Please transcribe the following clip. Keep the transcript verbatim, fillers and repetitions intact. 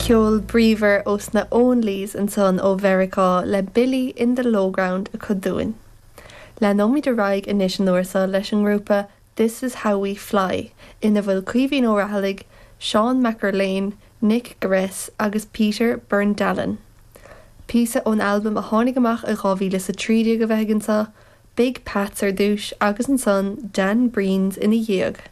Ceol bríomhar ós na Onlys ansan ó Mheiriceá le Billy in the Lowground acu dúinn. Leanfaimid ar aghaidh anois an uair seo leis an ngrúpa This is How We Fly ina bhfuil Caoimhín Ó Raghallaigh, Seán Mac Erlaine, Nick Gress agus Peter Berndalen. Píosa ón albam a tháinig amach i dhá mhíle sa trí déag a bheidh anseo, Big Pats ar dtús agus ansan Dan Breen's ina dhiaidh.